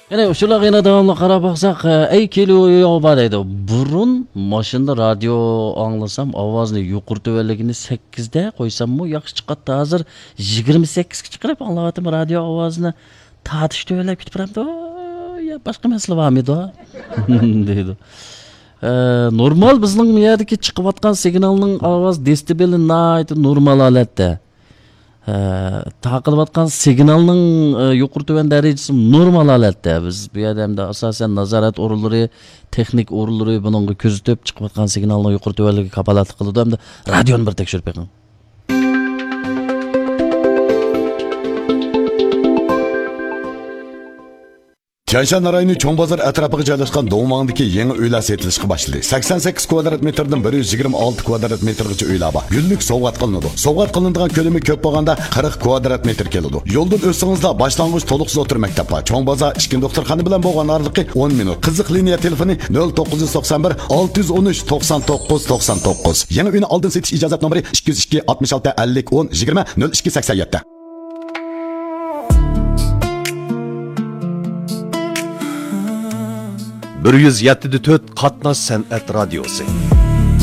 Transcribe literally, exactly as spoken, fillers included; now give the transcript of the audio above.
يەنە ئۇچۇرلارغا يەنە داۋاملىق قاراپ باقساق، ئەي كېلىۋېرىۋا دەيدۇ. بۇرۇن ماشىنىدا رادىيو ئاڭلىسام، ئاۋازنى يۇقىرى تۆۋەنلىكىنى سەككىزدە قويساممۇ ياخشى چىقاتتى. ھازىر يىگىرمە سەككىزگە چىقىرىپ ئاڭلاۋاتىمەن رادىيو ئاۋازىنى. تارتىش تۆۋەنلەپ كېتىپ بارامدۇ؟ يا باشقا مەسىلە بارمىدۇ؟ دەيدۇ. ئە، نورمال بىزنىڭ بۇ يەردىكى چىقىۋاتقان سىگنالنىڭ ئاۋاز دېسىبېلى ناھايىتى نورمال ھالەتتە. ئە، تارقىلىۋاتقان سىگنالنىڭ، ئە، يۇقىرى تۆۋەن دەرىجىسى نورمال ھالەتتە. بىز بۇ يەردە ئەمدى ئاساسەن نازارەت ئورۇنلىرى، تېخنىك ئورۇنلىرى بۇنىڭغا كۆزىتىپ، چىقىۋاتقان سىگنالنىڭ يۇقىرى تۆۋەنلىكىگە كاپالەتلىك قىلىدۇ. ئەمدى رادىيونى بىر تەكشۈرۈپ بېقىڭ. تيەنشان رايونى چوڭ بازار ئەتراپىغا جايلاشقان دۇڭۋاڭدىكى يېڭى ئۆيلەر سېتىلىشقا باشلىدى. سەكسەن سەككىز كۋادرات مېتىردىن بىر يۈز يىگىرمە ئالتە كۋادرات مېتىرغىچە ئۆيلەر بار. گۈللۈك سوۋغات قىلىنىدۇ. سوۋغات قىلىنىدىغان كۆلىمى كۆپ بولغاندا قىرىق كۋادرات مېتىر كېلىدۇ. يولدىن ئۆتسىڭىزلا باشلانغۇچ تولۇقسىز ئوتتۇرا مەكتەپ بار. چوڭ بازار، ئىككىنچى دوختۇرخانا بىلەن بولغان ئارىلىقى ئون مىنۇت. قىزىق لىنىيە تېلېفونى نۆل توققۇز يۈز توقسان بىر، ئالتە يۈز ئون ئۈچ، توقسان توققۇز، توقسان توققۇز. يېڭى ئۆينى ئالدىن سېتىش ئىجازەت نومۇرى ئىككى يۈز ئىككى، ئاتمىش ئالتە، ئەللىك، ئون، يىگىرمە، نۆل ئىككى سەكسەن يەتتە. بىر يۈز يەتتە دە تۆت قاتناش سەنئەت رادىيوسى.